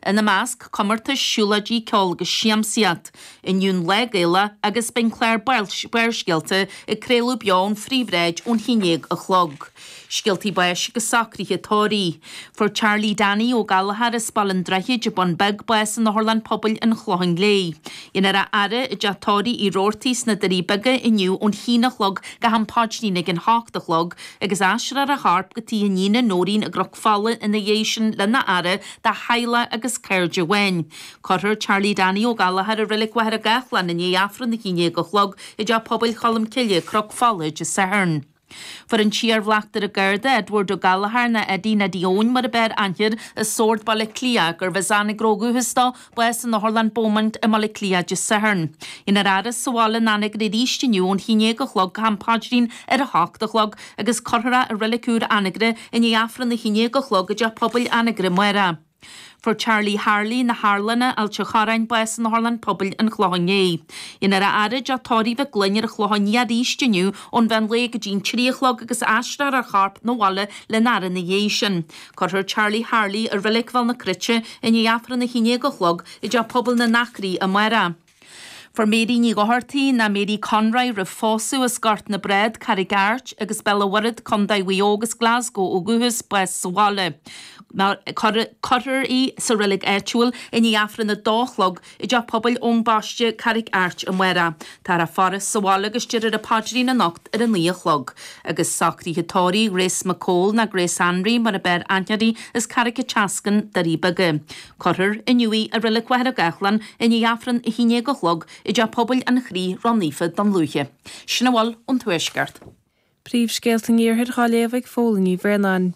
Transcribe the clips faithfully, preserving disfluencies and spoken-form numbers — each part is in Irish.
Ina measc, comórtais, siúlóidí, ceol agus siamsaíocht. Inniu an Lá Gaelach agus beidh an clár Barrscéalta ag craoladh beo ón phríomhshráid ón haon déag a chlog. Scéaltaí báis agus socruithe tórraimh. Fuair Charlie Danny Ó Gallchóir as Baile an Droichid i Bun Beag bás in Otharlann Pobail an Chlocháin Léith. Dhéanfar a fhaire i dteach tórraimh Uí Robhartaigh sna Doirí Beaga inniu ón haon a chlog go ham paidrín ag an hocht a chlog agus aistreofar a chorp go tigh a iníne Nóirín i gCnoc Fola ina dhiaidh sin lena fhaire de theaghlach agus cairde amháin. Cuirfear Charlie Danny Ó Gallchóir i Reilig Mhachaire Gathlán i ndiaidh Aifreann a haon déag a chlog i dteach pobail Cholm Cille, Cnoc Fola, Dé Sathairn. Fuair an t-iarbhleachtaire Garda Edward Ó Gallchóir nó Eddie Neidí Eoin mar ab fhearr aithne air as Sord Baile Átha Cliath gurbh as Anagaire ó dhúchas dó, bás in Otharlann Beaumont i mBaile Átha Cliath Dé Sathairn. Dhéanfar a fhaire sa bhaile in Anagaire arís inniu ón haon déag a chlog go ham paidrín ar a hocht a chlog agus cuirfear é i Reilig Úr Anagaire i ndiaidh Aifreann a haon déag a chlog i dteach pobail Anagaire amárach. Fuair Charlie Harley na hArlana, Ailt an Chorráin, bás in Otharlann Pobail an Chlocháin Léith. Dhéanfar a fhaire i dteach tórraimh Mhic Gloinn ar an Chlochán Liath arís inniu ón mheán lae go dtí an trí a chlog agus aistreofar a chorp 'na bhaile lena fhaire ina dhiaidh sin. Cuirfear Charlie Harley i Reilig Bhéal na Cruite i ndiaidh Aifreann a haon déag a chlog i dteach pobail na nAcraí amárach. Fuair Mary Ní Dhochartaigh, ná Mary Conroy roimh phósadh as Gort na Brád, Carraig Airt agus Béal an Mhuirthead, Contae Mhaigh Eo agus Glasgow ó dhúchas, bás sa bhaile. Cuirfear í sa reilig áitiúil i ndiaidh Aifreann a dó a chlog i dTeach Pobail Eoin Baiste, Carraig Airt amárach. Táthar á faire sa bhaile agus déarfar an paidrín anocht ar a naoi a chlog. Agus socruithe tórraimh Grace McCole ná Grace Anraí mar ab fhearr aithne uirthi as Carraig an tSeascainn, Doirí Beaga. Cuirfear inniu í i Reilig Mhachaire Gathlán i ndiaidh Aifreann a haon déag a chlog i dTeach Pobail an Chroí Ró-Naofa Dún Lúiche. Sin a bhfuil ón Tuaisceart. Príomhscéalta an Iarthair á léamh ag Fódhla Ní Bhraonáin.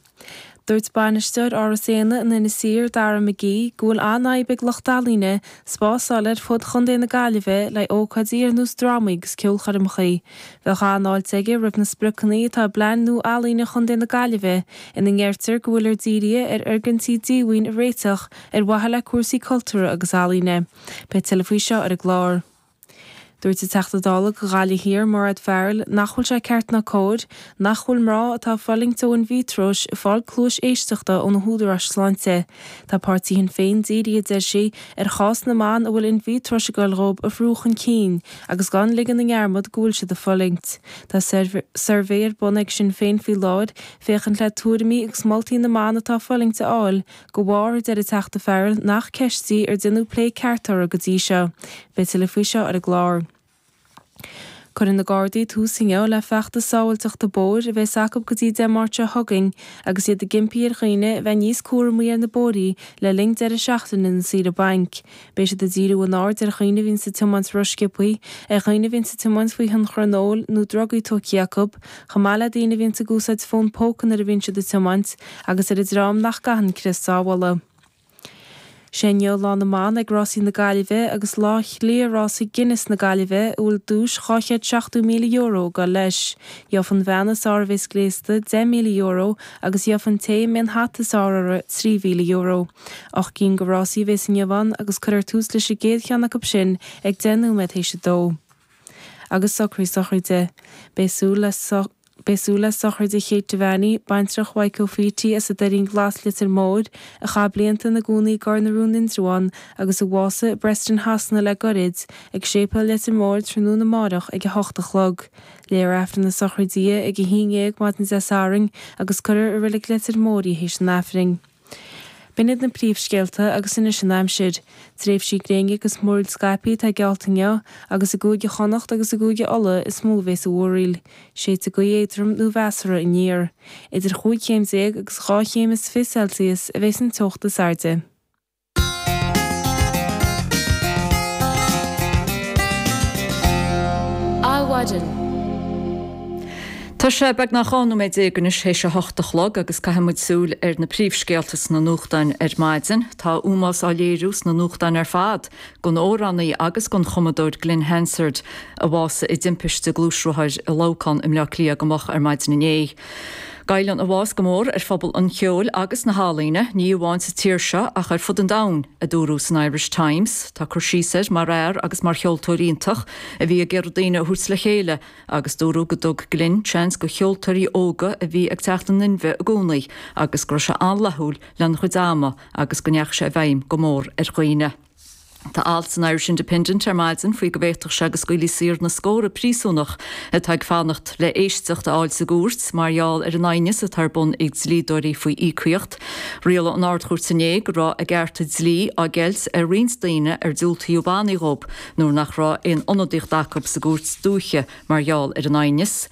Dúirt bainisteoir Áras Éanna in Inis Oírr, Dara McGee, go bhfuil an-fhadhb ag lucht ealaíne spás a fháil ar fud Chontae na Gaillimhe le ócáidí ar nós drámaí agus ceolchoirmeacha. Bheadh an-fháilte aige roimh na spriocanna atá i bPlean nua Ealaíne Chontae na Gaillimhe ina ndeirtear go bhfuiltear dírithe ar fhoirgintí díomhaoin a réiteach ar mhaithe le cúrsaí cultúrtha agus ealaíne. Beidh tuilleadh faoi seo ar an gclár. Dúirt an Teachta Dála do Ghaillimh Thiar, Mairéad Farrell, nach bhfuil sé ceart ná cóir nach bhfuil mná atá ag fulaingt ó in-vitreois ag fáil cluais éisteachta ó na húdaráis sláinte. Tá páirtí Shinn Féin dírithe, a deir sí, ar chás na mban a bhfuil in-vitreois ag goil dhóibh a bhrú chun cinn agus gan ligean i ndearmad go bhfuil siad ag fulaingt. Tá suirbhé ar bun ag Sinn Féin faoi láthair féachaint le tuairimí agus moltaí na mban atá ag fulaingt a fháil de bharr, a deir an Teachta Farrell, nach ceist í ar déanadh plé ceart uirthi go dtí seo. Beidh tuilleadh faoi seo ar an gclár. Cuirfidh na Gardaí tús inniu le feachtas sábháilteachta bóthair a bheas acu go dtí Dé Máirt seo chugainn agus iad ag impí ar dhaoine a bheith níos cúramaí ar na bóithrí le linn deireadh seachtaine na saoire bainc. Beidh siad ag díriú a n-aird ar dhaoine a bhíonns ag tiomáint rósciobtha, ar dhaoine a bhíonns ag tiomáint faoi thionchar an óil nó drugaí tógtha acu, chomh maith le daoine a bhíonns ag úsáid fón póca nuair a bhíonn siad ag tiomáint, agus ar an dream nach gcaitheann crios sábhála. Sé inniu Lá na mBan ag Rásaí na Gaillimhe agus Lá Chliath Rásaí Guinness na Gaillimhe a bhfuil duais dhá chéad seachtó míle euro ag dul leis. Gheobhaidh an bhean is fearr a bheas gléasta deich míle euro agus gheobhaidh an té a mbeidh an hata is fearr uirthi trí mhíle euro. Ocht gcinn de rásaí a bheas inniu ann agus cuirfear tús leis an gcéad cheann acu sin ag deich nóiméad théis a dó. Agus socruithe sochraide. Beidh súil le Beidh súil le sochraide Kate Devaney, baintreach Mhaidhc Ó Faoití as an Doirín Glas Leitir Móir, a chaith blianta ina gcónaí i gCorr na Rón Indreabhán agus a bhásaigh i bPreston Shasana le goirid, ag Séipéal Leitir Móir tráthnóna amárach ag a hocht a chlog. Léifear Aifreann na sochraide di ag a haon dhéag maidin Dé Sathairn agus cuirfear i Reilig Leitir Móir í théis an Aifrinn. B'in iad na príomhscéalta agus anois an aimsir. Tréimhsí gréine agus múraíl scaipthe atá geallta inniu agus i gCúige Chonnacht agus i gCúige Uladh is mó a bheas an mhúraíl. Séidfidh gaoth éadrom nó mheasartha aniar. Idir chúig chéim déag agus dhá chéim is fiche Celsius a bheas an teocht is airde. Adhmhaidin. Tá sé beagnach dhá nóiméad déag anois théis a hocht a chlog agus caithfidh muid súil ar na príomhscéalta sna nuachtáin ar maidin. Tá ómós á léiriú sna nuachtáin ar fad don amhránaí agus don chumadóir Glen Hansard a bhásaigh i dtimpiste gluaisrothair i Leamhcán i mBleá Cliath go moch ar maidin inné. Goilleann a bhás go mór ar phobal an cheoil agus na healaíne, ní amháin sa tír seo ach ar fud an domhain, a dúradh san Irish Times. Tá cur síos air mar fhear agus mar cheoltóir iontach a bhí ag iarraidh daoine a thabhairt le chéile agus dúradh go dtug Glyn seans do cheoltóirí óga a bhí ag teacht in inmhe i gcónaí agus go raibh sé an-fhlaithiúil lena chuid ama agus go ndeachaigh sé i bhfeidhm go mór ar dhaoine. Tá alt san Irish Independent ar maidin faoi go bhféadfadh sé go scaoilfí saor na scórtha príosúnach atá ag fanacht le éisteacht a fháil sa gcúirt mar gheall ar an aighneas atá ar bun ag dlíodóirí faoi íocaíocht. Rialaigh an Ard-Chúirt inné go raibh a gcearta dlí á gceilt ar roinnt daoine ar diúltaíodh bannaí dhóibh nuair nach raibh aon ionadaíocht acu sa gcúirt dúiche mar gheall ar an aighneas.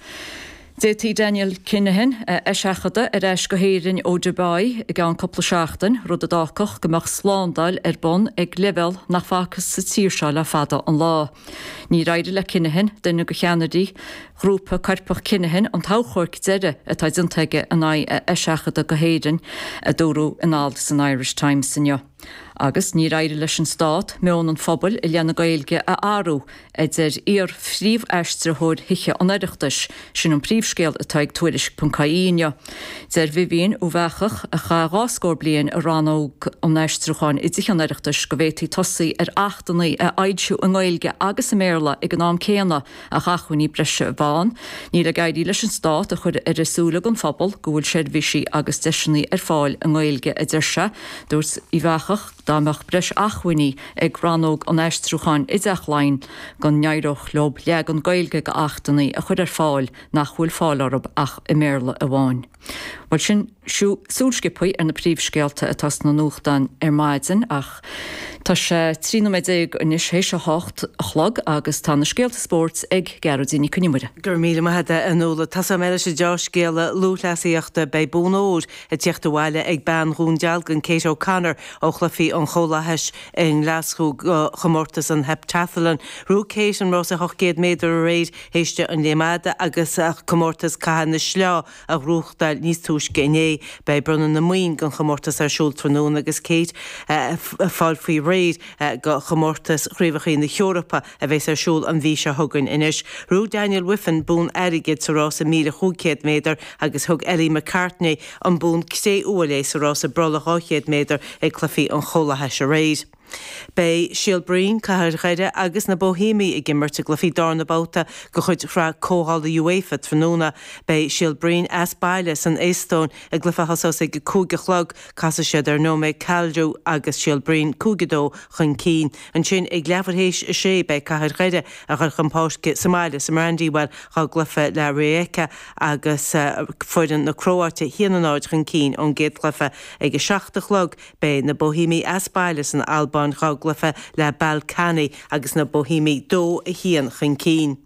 D'fhéadfaí Daniel Kinahan a eiseachadadh ar ais go hÉirinn ó Dubai i gceann cúpla seachtain, rud a d'fhágfadh go mbeadh slándáil ar bun ag leibhéal nach bhfacthas sa tír seo le fada an lá. Níor éirigh le Kinahan, duine de cheannairí ghrúpa coirpeach Kinahan, an t-achomharc deiridh atá déanta aige in aghaidh a eiseachadta go hÉirinn, a dúradh in alt san Irish Times inniu. Agus níor éirigh leis an Stát meon an phobail i leith na Gaeilge a athrú, a deir iar-phríomhaistritheoir Thithe an Oireachtais. Sin an príomhscéal atá ag Tuairisc ponc ie inniu. Deir Vivian Uíbh Eachach, a chaith dhá scór bliain i rannóg an aistriúcháin i dTithe an Oireachtais, go bhféadfaí tosaí ar achtanna a fhoilsiú i nGaeilge agus i mBéarla ag an am céanna ach acmhainní breise a bheith ann. Níl ag éirí leis an Stát a chur ar a súile don phobal go bhfuil seirbhísí agus deiseanna ar fáil i nGaeilge, a deir sé. Dúirt Uíbh Eachach dá mbeadh breis acmhainní ag rannóg an aistriúcháin i dTeach Laighean go n-éireodh leo leagan Gaeilge d'achtanna a chur ar fáil nach bhfuil fáil orthu ach i mBéarla amháin. Bhuel sin súil sciobtha ar na príomhscéalta atá sna nuachtáin ar maidin ach tá sé trí nóiméad déag anois théis a hocht a chlog agus tá na scéalta spóirt ag Gearóidín Nic Con Iomaire. Go raibh míle maith agat a Nuala. Tosóidh mé leis an dea-scéala lúthchleasaíochta. Beidh bonn óir ag tíocht abhaile ag bean Dhún Dealgan, Kate O'Connor ó Chluichí an Chomhlathais i nGlaschú do chomórtas an Heptathlon. Ghnóthaigh Kate an rása ocht gcéad méadar aréir théis di an léim fhada agus comórtas caitheamh na sleá a ghnóthachtáil níos túisce inné. Beidh bronnadh na mboinn don chomórtas ar siúl tráthnóna agus Kate ag fáil faoi réir do chomórtas Chraobhacha na hEorpa a bheas ar siúl an mhí seo chugainn anois. Ghnóthaigh Daniel Wiffen bonn airgid sa rása míle chúig chéad méadar agus thug Ellie McCartney an bonn cré-umha léi sa rása brollaigh dhá chéad méadar ag Cluichí an Chomhlathais aréir. Beidh Síol Bhroin, Cathair Dhoire agus na Boihéamaigh ag imirt i gcluichí darna babhta de chuid Shraith Comhdhála UEFA tráthnóna. Beidh Síol Bhroin as baile san Eastóin i gcluiche a thosós ag a cúig a chlog. Casfaidh siad ar Nõmme Kalju agus Síol Bhroin cúig a dó chun cinn. Ansin ag leathuair théis a sé beidh Cathair Dhoire ag dul chun páirce sa mbaile sa Mbrandywell dá gcluiche le Rijeka agus foireann na Cróite a haon a náid chun cinn ón gcéad chluiche. Ag a seacht a chlog beidh na Boihéamaigh as baile san Albáin dá gcluiche le Ballkani agus na Boihéamaigh dó a haon chun cinn.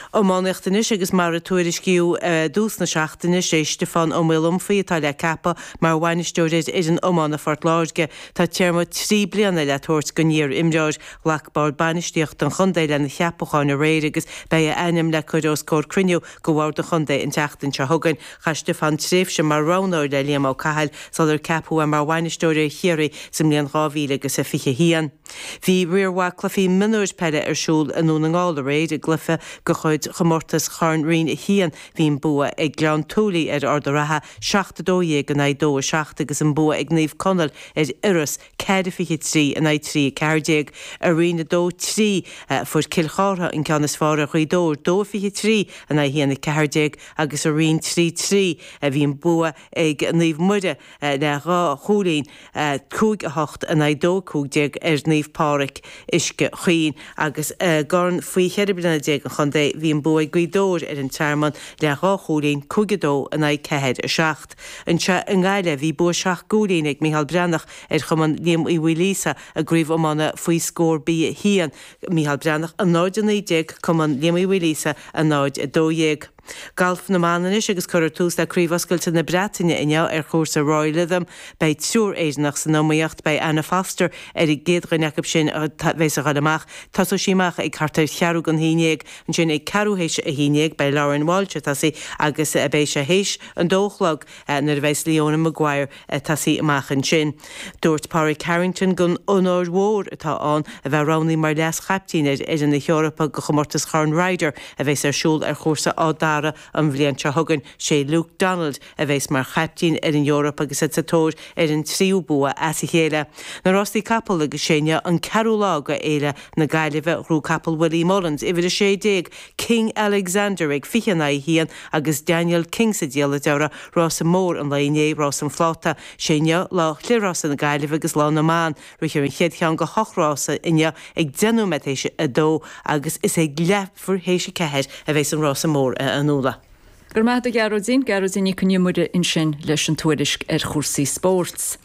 Iománaíocht anois agus mar a tuairiscíodh i dtús na seachtaine, sé Stiofán Ó Maolaomfaigh atá le ceapadh mar bhainisteoir ar fhoireann iomána Phort Láirge. Tá téarma trí bliana le tabhairt don iar-imreoir. Ghlac Bord Bainistíochta an chontae lena cheapachán aréir agus beidh a ainm le cur os comhair cruinniú de Bhord an Chontae an tseachtain seo chugainn. Chaith Stiofán tréimhse mar roghnóir le Liam Ó Cathail sular ceapadh é mar bhainisteoir ar Chiarraí sa mbliain dhá mhíle agus a fiche a haon. Bhí riar mhaith cluichí mionúir peile ar siúl i nDún na nGall aréir i gcluiche de chuid chomórtas Chorn Roinn a haon. Bhí an bua ag Gleann tSúilí ar Ard an Rátha, seacht a dó dhéag in aghaidh dó a seacht agus an bua ag Naomh Conaill ar Iorras, ceathair a fiche trí in aghaidh trí a ceathair déag. I Roinn a dó trí fuair Cill Chártha an ceann is fearr ar Ghaoth Dobhair, dó a fiche trí in aghaidh haon a ceathair déag agus i Roinn trí trí bhí an bua ag Naomh Muire le dhá chúilín, cúig a hocht in aghaidh dó a cúig déag ar Naomh Pádraig, Uisce Chaoin, agus i gCorn faoi cheithre bliana déag an chontae bhí an bua ag Gaoth Dobhair ar an Tearmann le dhá chúilín, cúig a dó in aghaidh ceathair a seacht. Anseo i nGaillimh bhí bua seacht gcúilín ag Micheál Breathnach ar Chumann Liam Uí Mhaoilíosa i gCraobh Iomána faoi scór B a haon, Micheál Breathnach a náid a naoi déag, Cumann Liam Uí Mhaoilíosa a náid a dó dhéag. Galf na mban anois agus cuirfear tús le Craobh Oscailte na Breataine inniu ar chúrsa Royal Lytham. Beidh triúr Éireannach san iomaíocht. Beidh Anna Foster ar an gcéad dhuine acu sin a bheas ag dul amach. Tosóidh sí amach ag thart ar cheathrú don haon dhéag. Ansin ag ceathrú théis a haon dhéag beidh Lauren Walsh ag tosaí agus beidh sé théis an dó a chlog nuair a bheas Leona Maguire ag tosaí amach ansin. Dúirt Pádraig Harrington gur onóir mhór atá ann a bheith roghnaithe mar leas-chaiptín ar fhoireann na hEorpa do chomórtas Chorn Ryder a bheas ar siúl ar chúrsa Áth Dara Dara an bhliain seo chugainn sé Luke Donald a bheas mar chaiptín ar an Eoraip agus iad sa tóir ar an tríú bua as a chéile. Na rástaí capall agus sé inniu an ceathrú lá de Fhéile na Gaillimhe ghnóthaigh capall Willie Mullins uimhir a sé déag King Alexander ag fiche in aghaidh a haon agus Daniel King sa diallait orthu rása mór an lae inné rás an phláta sé inniu lá chliathrása na Gaillimhe agus lá na mban rithfear an chéad cheann de hocht rása inniu ag deich nóiméad théis a dó agus is ag leathuair théis a ceathair a bheas an rása mór a Fhionnuala. Go raibh maith agat a Ghearóidín, Gearóidín Nic an Iomaire ansin leis an tuairisc ar chúrsaí spóirt.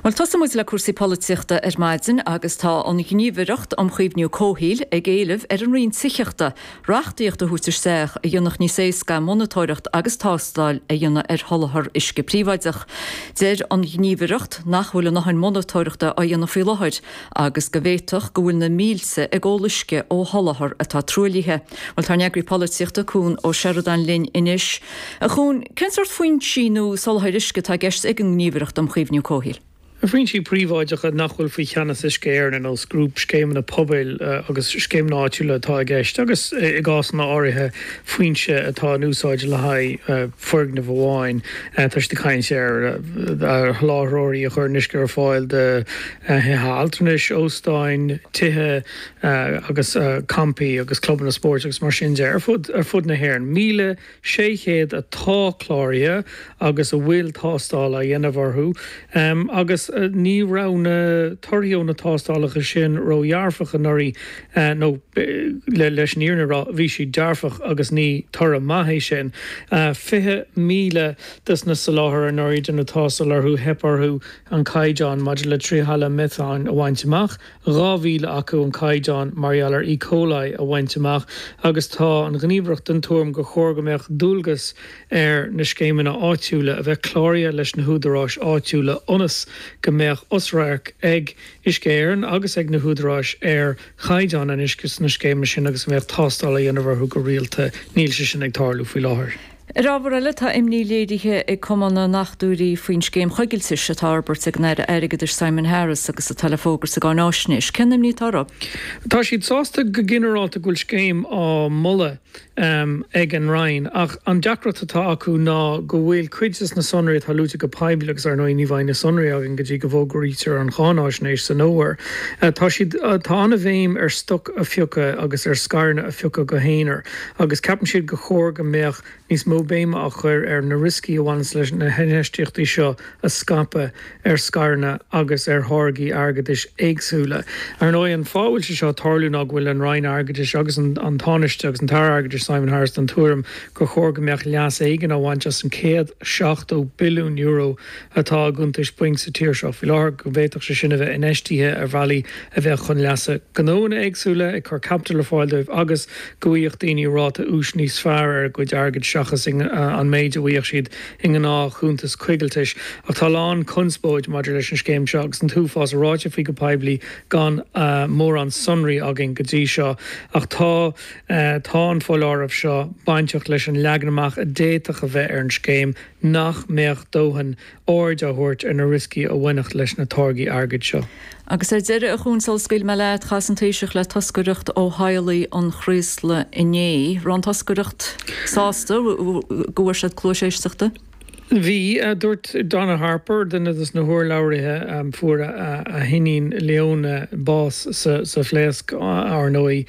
Well tosóidh muid le cúrsaí polaitíochta ar maidin agus tá an Ghníomhaireacht um Chaomhnú Comhshaoil ag éileamh ar an Roinn Tithíochta reachtaíocht a thabhairt isteach a dhéanfadh níos éasca monatóireacht agus tástáil a dhéanamh ar sholáthar uisce príobháideach. Deir an Ghníomhaireacht nach bhfuil a ndóthain monatóireachta á dhéanamh faoi láthair agus go bhféadfadh go bhfuil na mílte ag ól uisce ó sholáthar atá truaillithe. Well tá eagraí polaitíochta Cuan Ó Seireadáin linn anois. A Chuain, cén sórt foinsí nó soláthar uisce atá i gceist ag an nGníomhaireacht um Chaomhnú Comhshaoil? Foinsí príobháideacha nach bhfuil faoi cheannas Uisce Éireann ar nós grúpscéimeanna pobail agus scéimeanna áitiúla atá i gceist agus i gcásanna áirithe foinse atá in úsáid le haghaidh foirgneamh amháin. Tá siad ag caint ar sholáthróirí a chuireann uisce ar fáil do thithe altranais, óstáin, tithe agus campaí agus clubanna spóirt agus mar sin de ar fud ar fud na hÉireann. Míle sé chéad atá cláraithe agus a bhfuil tástáil á dhéanamh orthu agus ní raibh na torthaí ó na tástálacha sin ródhearfach anuraidh nó leis an fhírinne a rá bhí siad dearfach agus ní toradh maith é sin. Fiche míle des na soláthair anuraidh deineadh tástáil orthu theip orthu an caighdeán maidir le trihalaimíotáin a bhaint amach, dhá mhíle acu an caighdeán mar gheall ar E. coli a bhaint amach agus tá an Ghníomhaireacht den tuairim gur chóir go mbeadh dualgas ar na scéimeanna áitiúla a bheith cláraithe leis na húdaráis áitiúla ionas go mbeadh osradharc ag Uisce Éireann agus ag na húdaráis ar chaighdeán an uisce sna scéimeanna sin agus go mbeadh tástáil á dhéanamh orthu go rialta. Níl sé sin ag tarlú faoi láthair. Ar ábhar eile tá imní léirithe ag Cumann na nDochtúirí faoin scéim choigiltis atá á fhorbairt ag an Aire Airgeadais Simon Harris agus atá le fógairt sa gcáináisnéis. Cén imní atá orthu? Tá siad sásta go ginearálta go bhfuil scéim á moladh ag an Roinn ach an deacracht atá acu ná go bhfuil cuid de na sonraí atá luaite go poiblí agus ar ndóigh ní bheidh na sonraí againn go dtí go bhfógraítear an cháinaisnéis san fhómhar. Tá siad tá an-bhéim ar stoc a phiocadh agus ar scaireanna a phiocadh go haonar agus ceapann siad gur chóir go mbeadh níos mó béime á chur ar na rioscaí a bhaineann leis na hinfheistíochtaí seo a scaipeadh ar scaireanna agus ar tháirgí airgeadais éagsúla. Ar ndóigh an fáth a bhfuil sé seo ag tarlú ná go bhfuil an Roinn Airgeadais agus an an Tánaiste agus an tAire Airgeadais Simon Harris den tuairim gur chóir go mbeadh leas éigin á bhaint as an céad seachtó billiún euro atá i gcuntais bainc sa tír seo faoi láthair, go bhféadfadh sé sin a bheith infheistithe ar bhealaí a bheadh chun leasa gnóanna éagsúla, ag cur caipitil ar fáil dóibh agus go bhfaigheadh daoine ráta úis níos fearr ar a gcuid airgid seachas an méid a bhfaigheadh siad i ngnáthchuntas coigiltis. Ach tá a lán conspóid maidir leis an scéim seo agus an t-uafás ráite faoi go poiblí gan mórán sonraí againn go dtí seo. Ach tá tá an foláireamh seo bainteach leis an leagan amach a d'fhéadfadh a bheith ar an scéim nach mbeadh dóthain aird á thabhairt ar na rioscaí a bhainfeadh leis na táirgí airgid seo. Agus ar deireadh, a Chuain, sula scaoilfidh mé leat, chas an Taoiseach le toscaireacht ó theaghlaigh an Chraoslaigh inné. Raibh an toscaireacht sásta go bhfuair siad cluas éisteachta? Bhí, dúirt Donna Harper, duine de na hurlabhraithe, fuair a hiníon Leona bás sa phléasc ar ndóigh,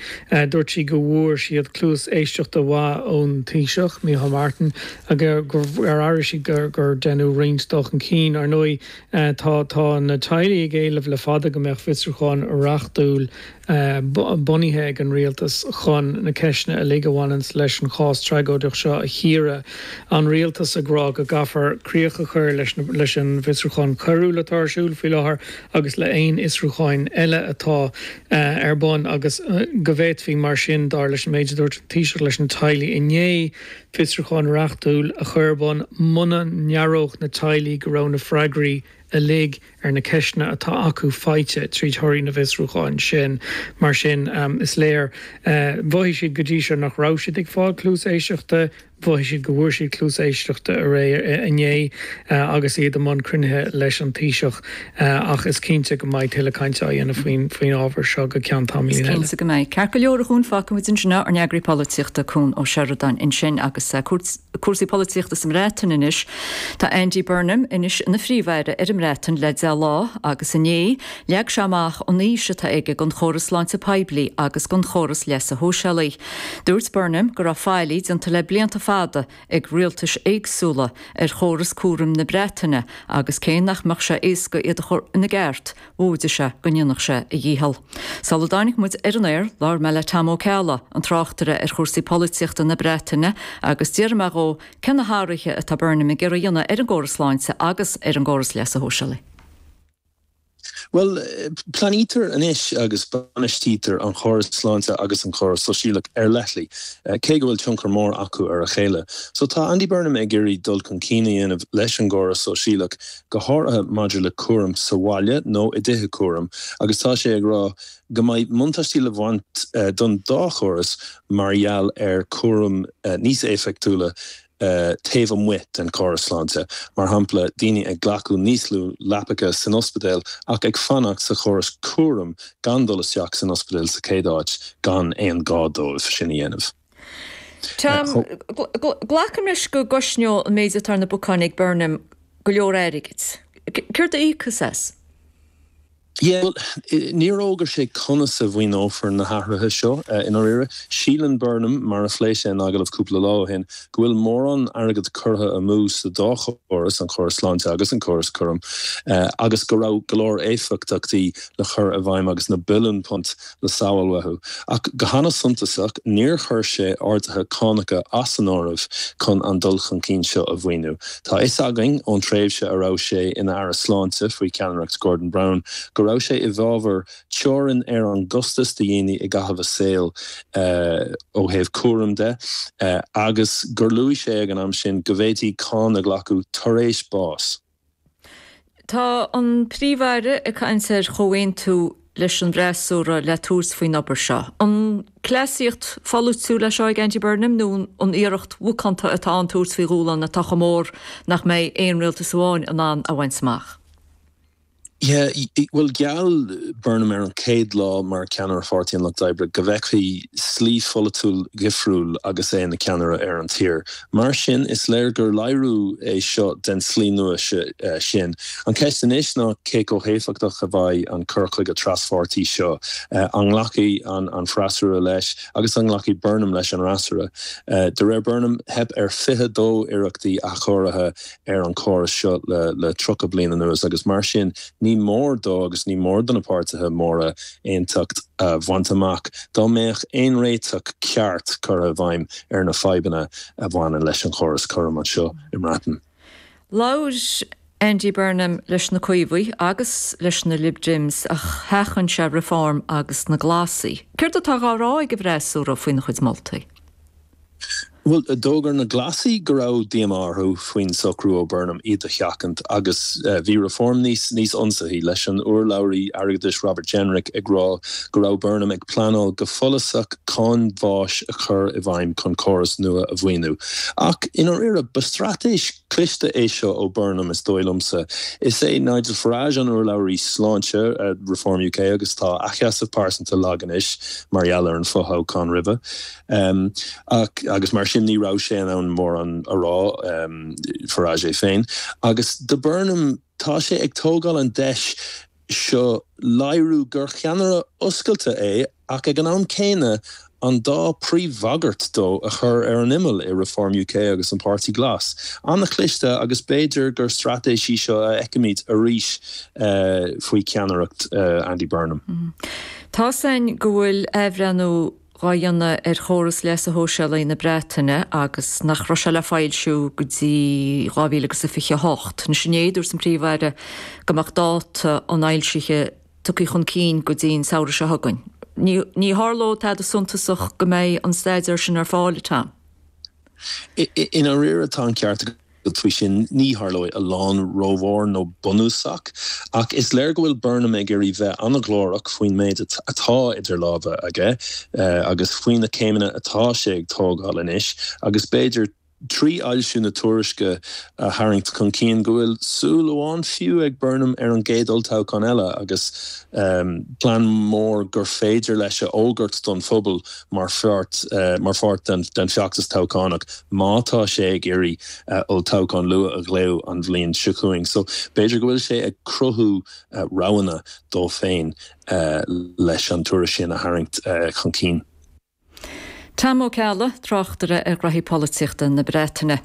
dúirt sí go bhfuair siad cluas éisteachta mhaith ón Taoiseach, Micheál Martin, gur airigh siad gur deineadh roinnt dul chun cinn. Ar ndóigh, tá tá na teaghlaigh ag éileamh le fada go mbeadh fiosrúchán reachtúil bunaithe ag an rialtas chun na ceisteanna uilig a bhaineanns leis an chás tragóideach seo a chíoradh. An rialtas ag rá go gcaithfear críoch a chur leis leis an bhfiosrúchán coiriúil atá ar siúl faoi láthair agus le haon fhiosrúcháin eile atá ar bun agus go bhféadfaí mar sin, dar leis an méid a dúirt an Taoiseach leis na teaghlaigh inné, fiosrúchán reachtúil a chur ar bun muna ndearódh na teaghlaigh go raibh na freagraí uilig ar na ceisteanna atá acu faighte tríd thorthaí na bhfiosrúchán sin. Mar sin, is léir, mhothaigh siad go dtí seo nach raibh siad ag fáil cluas éisteachta. mhothaigh siad go bhfuair siad cluas éisteachta aréir inné agus iad i mbun cruinnithe leis an Taoiseach ach is cinnte go mbeidh tuilleadh cainte á dhéanamh faoin faoin ábhar seo go ceann tamaillín eile. Is cinnte go mbeidh. Ceart go leor a Chuain, fágfaidh muid ansin é, ár n-eagraí polaitíochta Cuan Ó Seireadáin ansin agus cúrsaí polaitíochta sa mBreatain anois. Tá Andy Burnham anois ina Phríomh-Aire ar an mBreatain le deich lá agus inné leag sé amach an fhís atá aige don chóras sláinte poiblí agus don chóras leasa shóisialaigh. Dúirt Burnham go raibh faillí déanta le blianta fada ag rialtais éagsúla ar chóras cúraim na Breataine agus cé nach mbeadh sé éasca iad a chur ina gceart, mhóide sé go ndéanfadh sé a dhícheall. Sula dtáinig muid ar an aer, labhair mé le Tom Ó Ceallaigh, an tráchtaire ar chúrsaí polaitíochta na Breataine, agus d'fhiafraigh mé dhó cé na hathruithe atá Burnham ag iarraidh a dhéanamh ar an gcóras sláinte agus ar an gcóras leasa shóisialaigh. Bhuel, pleanáiltear anois agus bainistítear an chóras sláinte agus an chóras sóisialach ar leithligh, cé go bhfuil tionchar mór acu ar a chéile. So tá Andy Burnham ag iarraidh dul chun cinn a dhéanamh leis an gcóras sóisialach, go háirithe maidir le cúram sa bhaile nó i dtithe cúraim, agus tá sé ag rá go mbeidh buntáistí le baint don dá chóras mar gheall ar chúram níos éifeachtúla taobh amuigh den chóras sláinte, mar shampla daoine ag glacadh níos lú leapacha san ospidéal ach ag fanacht sa chóras cúraim gan dul isteach san ospidéal sa chéad áit gan aon ghá dóibh sin a dhéanamh. Tom, glacaim leis go gcosnóidh an méid atá ar na bacáin ag Burnham go leor airgid. Céard a íocfas as? Yeah, bhuel, níor fhógair sé conas a mhaoineofar na hathruithe seo i ndáiríre. Síleann Burnham, mar a phléigh sé in agallamh cúpla lá ó shin, go bhfuil mórán airgid curtha amú sa dá chóras, an córas sláinte agus an córas cúraim, agus go raibh go leor éifeachtachtaí le cur i bhfeidhm agus na billiúin punt le sábháil uathu. Ach go hana-suntasach, níor chuir sé arduithe cánacha as an áireamh chun an dul chun cinn seo a mhaoiniú. Tá fhios againn ón tréimhse a raibh sé ina Aire Sláinte faoi cheannaireacht Gordon Brown go raibh sé i bhfabhar teorainn ar an gcostas do dhaoine i gcaitheamh a saoil ó thaobh cúraim de agus gur luaigh sé ag an am sin go bhféadfaí cáin a ghlacadh tar éis bás. Tá an Príomh-Aire ag caint ar chomhaontú leis an bhfreasúra le tabhairt faoin obair seo. An cleasaíocht pholaitiúil é seo ag Andy Burnham nó an iarracht mhacánta atá ann tabhairt faoi dhúshlán atá chomh mór nach mbeidh aon rialtas amháin in ann a bhaint amach? Yeah, bhuel gheall Burnham ar an chéad lá mar cheannaire Pháirtí an Lucht Oibre go bhfeicfí slí pholaitiúil dhifriúil agus é ina cheannaire ar an tír. Mar sin, is léir gur léiriú é seo den tslí nua sin. An cheist anois ná cé chomh héifeachtach a bheidh an cur chuige traspháirtí seo. An nglacfaidh an freasúra leis agus an nglacfaidh Burnham leis an fhreasúra? De réir Burnham, theip ar fiche dó iarrachtaí athchóirithe ar an chóras seo le tríocha bliain anuas agus mar sin ní mór dó agus ní mór do na páirtithe móra aontacht a bhaint amach dá mbeadh aon réiteach ceart curtha i bhfeidhm ar na fadhbanna a bhaineann leis an chóras cúraim anseo i mBreatain. Labhair Andy Burnham leis na Caomhaigh agus leis na Lib Dems ach sheachain sé Reform agus na Glasaigh. Céard atá á rá ag an bhfreasúra faoina chuid moltaí? Bhuel, d'fhógair na Glasaigh go raibh díomá orthu faoin socrú ó Burnham iad a sheachaint agus bhí Reform níos níos ionsaithí, leis an urlabhraí airgeadais Robert Jenrick ag rá go raibh Burnham ag pleanáil go follasach cáin bháis a chur i bhfeidhm chun córas nua a mhaoiniú. Ach i ndáiríre, ba straitéis cliste é seo ó Burnham, is dóigh liomsa. Is é Nigel Farage an urlabhraí sláinte, Reform UK, agus tá a sheasamh pearsanta lag anois mar gheall ar an fothoghchán roimhe. Ach agus mar sin ní raibh sé in ann mórán a rá, Farage é féin. Agus do Burnham, tá sé ag tógáil an deis seo léiriú gur cheannaire oscailte é ach ag an am céanna an dá príomhbhagairt dó a chur ar an imeall i Reform UK agus an Páirtí Glas. An-chliste agus b'fhéidir gur straitéis í seo a fheicfimid arís faoi cheannaireacht Andy Burnham. Tá 's againn go bhfuil athbhreithniú dhá dhéanamh ar chóras leasa shóisialaigh na Breataine agus nach raibh sé le foilsiú go dtí dhá mhíle agus a fiche a hocht. Anois inné, dúirt an Príomh-Aire go mbeadh dáta an fhoilsithe tugtha chun cinn go dtí an samhradh seo chugainn. Ní ní tharlóidh tada suntasach go mbeidh an staidéar sin ar fáil, a Tom. I ndáiríre tá an ceart agat faoi sin, ní tharlóidh a lán rómhór nó bunúsach, ach is léir go bhfuil Burnham ag iarraidh bheith an-ghlórach faoin méid atá idir lámha aige agus faoi na céimeanna atá sé ag tógáil anois agus b'fhéidir trí fhoilsiú na tuairisce a tharraingt chun cinn go bhfuil súil amháin fiú ag Burnham ar an gcéad olltoghchán eile agus plean mór gur féidir leis a fhógairt don phobal mar pháirt mar pháirt den den feachtas toghchánach má tá sé ag iarraidh olltoghchán luath a ghlaoch an bhliain seo chugainn. So b'fhéidir go bhfuil sé ag cruthú roghanna dó féin leis an tuairisc sin a tharraingt chun cinn. Tam Ó Ceallaigh, tráchtaire ar ghraithí polaitíochta na Breataine.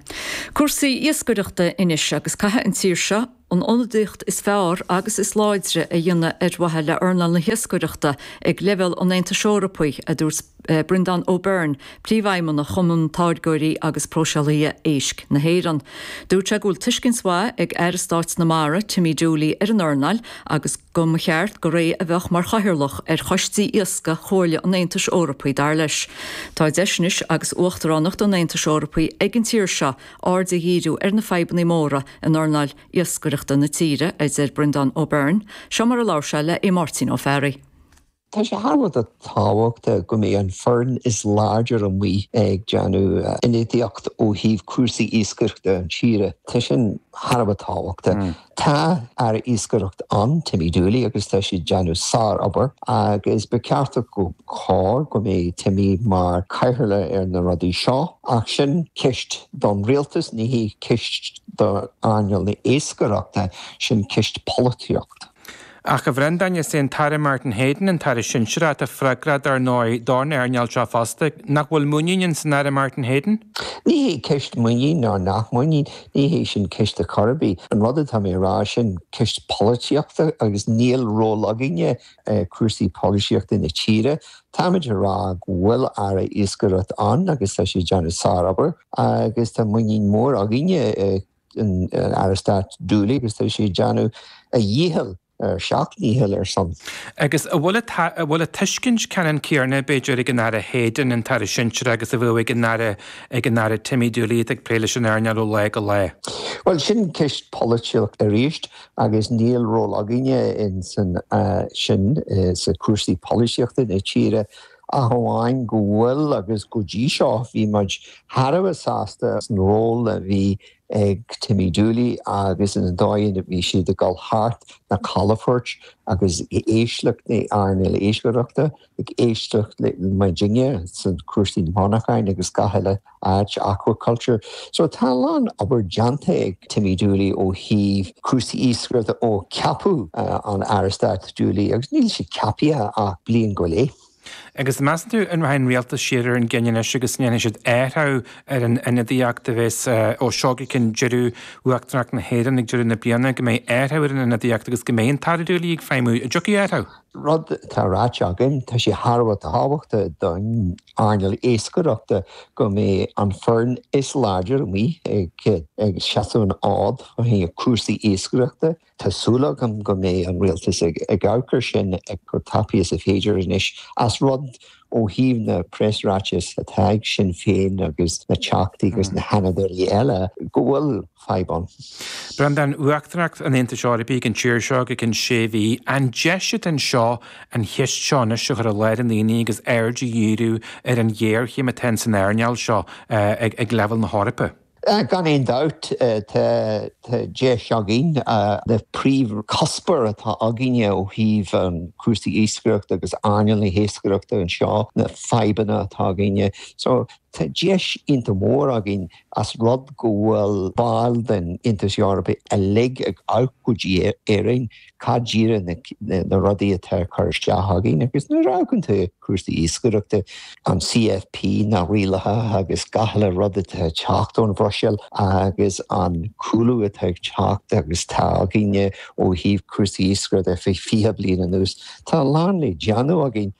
Cúrsaí iascaireachta anois agus caithfidh an tír seo an ionadaíocht is fearr agus is láidre a dhéanamh ar mhaithe le earnáil na hiascaireachta ag leibhéal an Aontais Eorpaigh, a dúirt Breandán O'Byrne, Príomhfheidhmeannach Chumann Táirgeoirí agus Próiseálaithe Éisc na hÉireann. Dúirt sé go bhfuil tuiscint mhaith ag Aire Stáit na Mara, Timmy Dooley, ar an earnáil agus go mba cheart gur é a bheadh mar chathaoirleach ar choistí iascaigh Chomhairle an Aontais Eorpaigh, dar leis. Tá deis anois agus Uachtaránacht an Aontais Eorpaigh ag an tír seo aird a dhíriú ar na fadhbanna móra in earnáil iascaireachta na tíre, a deir Breandán O'Byrne. Seo mar a labhair sé le Máirtín Ó Fearraigh. Tá sé thar a bheith tábhachtach go mbeidh an foireann is láidir amuigh ag déanamh ionadaíocht ó thaobh cúrsaí iascaireachta an tíre. Tá sin thar a bheith tábhachtach. Tá Aire Iascaireachta ann, Timmy Dooley, agus tá sé ag déanamh sár-obair agus ba cheart go chóir go mbeidh Timmy mar chathaoirleach ar na rudaí seo. Ach sin ceist don rialtas, ní hé ceist d'earnáil na iascaireachta, sin ceist polaitíocht. Ach a Bhreandáin, is é an tAire Martin Heydon an tAire Sinsearach atá freagrach dar ndóigh don earnáil seo fosta. Nach bhfuil muinín ins an Aire Martin Heydon? Ní hé ceist muinín ná nach muinín, ní hé sin ceist ar chor ar bith. An rud atá mé a rá, sin ceist polaitíochta agus níl ról againne i cúrsaí polaitíochta na tíre. Táimid a rá go bhfuil Aire Iascaireachta ann agus tá sé ag déanamh sár-obair agus tá muinín mór againne i an Aire Stáit Dooley agus tá sé ag déanamh a dhícheall ar seacht ndícheall ar son. Agus an bhfuil an bhfuil an tuiscint ceannann céanna b'fhéidir ag an Aire Heydon, an tAire Sinsearach agus a bheadh ag an Aire ag an Aire Timmy Dooley atá ag plé leis an earnáil ó lá go lá? Bhuel sin ceist polaitíocht arís agus níl ról againne in san sin sa cúrsaí polaitíochta na tíre ach amháin go bhfuil agus go dtí seo bhí muid thar a bheith sásta san ról a bhí ag Timmy Dooley agus an dóigh a bhí siad ag dul thart na calafoirt agus ag éisteacht le earnáil iascaireachta, ag éisteacht le muidinne san cúrsaí monarcháin agus gach uile áit, aquaculture. So tá a lán obair déanta ag Timmy Dooley ó thaobh cúrsaí iascaireachta ó ceapadh an Aire Stáit Dooley agus níl sé ceaptha ach bliain go leith. Agus measann tú an rachaidh an rialtas siar ar an gcinneadh anois agus ndéanfaidh siad athrú ar an ionadaíocht a bheas ó seo go ceann deireadh Uachtaránacht na hÉireann ag deireadh na bliana, go mbeidh athrú ar an ionadaíocht agus go mbeidh an tAire Dooley ag feidhmiú? An dtiocfaidh athrú? Rud atá ráite againn, tá sé thar a bheith tábhachtach don earnáil iascaireachta go mbeidh an foireann is láidir amuigh ag seasamh an fhóid ó thaobh cúrsaí iascaireachta. Tá súil agam go mbeidh an rialtas ag amharc air sin chomh tapaidh is a féidir anois as rud ó thaobh na preasráitis atá ag Sinn Féin agus na Teachtaí agus na hionadaithe eile go bhfuil fadhb ann. Breandán, Uachtaránacht an Aontais Eorpaigh ag an tír seo go ceann sé mhí. An deis atá anseo an cheist seo anois a chur i lár an aonaigh agus aird a dhíriú ar an ghéarchéim atá ins an earnáil seo ag leibhéal na hEorpa? Gan aon dabht, tá deis againn. Na príomhchuspóir atá againne ó thaobh an cúrsaí iascaireachta agus earnáil na hiascaireachta anseo, na fadhbanna atá againne. So tá deis iontach mór againn as rud go bhfuil baill den Aontas Eorpaigh uilig ag amharc go dtí Éirinn cad díreach na rudaí atá ag cur isteach againn agus nuair a amharcann tú cúrsaí iascaireachta, an CFP, na rialacha agus gach uile rud atá ag teacht ón Bhruiséil agus an cúlú atá ag teacht agus tá againne ó thaobh cúrsaí iascaireachta ar feadh fiche bliain anuas, tá a lán le déanamh againn.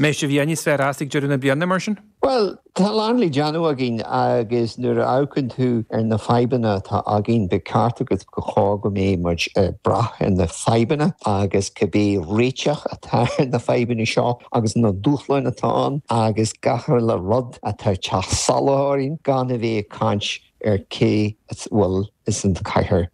Mbeidh sibh níos fearr as ag deireadh na bliana, mar sin? Bhuel, tá a lán le déanamh againn agus nuair a amharcann tú ar na fadhbanna atá againn, ba cheart agus go chóir go mbeidh muid ag brath ar na fadhbanna agus cibé réiteach atá ar na fadhbanna seo agus na dúshláin atá ann agus gach uile rud atá ag teacht salach orainn gan a bheith ag caint ar cé a bhfuil ins an chathaoir.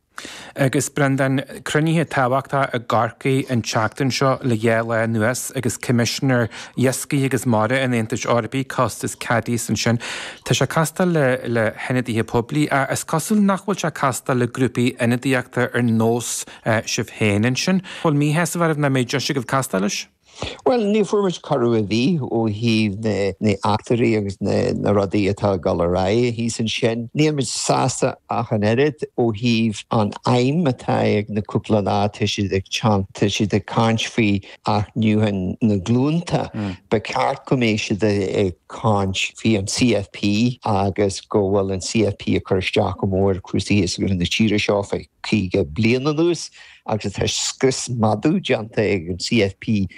Agus Breandán, cruinnithe tábhachtacha i gCorcaigh an tseachtain seo le dhá lá anuas agus Coimisinéir Iascaigh agus Mara an Aontais Eorpaigh, Costas Kadis ansin. Tá sé ag castáil le le hionadaithe poiblí ach is cosúil nach bhfuil sé ag castáil le grúpaí ionadaíochta ar nós sibh féin ansin. Bhfuil míshásamh oraibh nach mbeidh deis agaibh castáil leis? Bhuel, ní fuair muid cuireadh ar bith ó thaobh na n-eachtraí agus na rudaí atá ag dul ar aghaidh thíos ansin. Níl muid sásta ach an oiread ó thaobh an aidhm atá ag na cúpla lá, tá siad ag teacht, tá siad ag caint faoi athnuachan na glúnta. Ba cheart go mbeadh siad ag caint faoi an CFP agus go bhfuil an CFP ag cur isteach go mór ar chúrsaí iascaigh na tíre seo fé caoga bliain anuas. agus tá scrios madadh déanta ag an CFP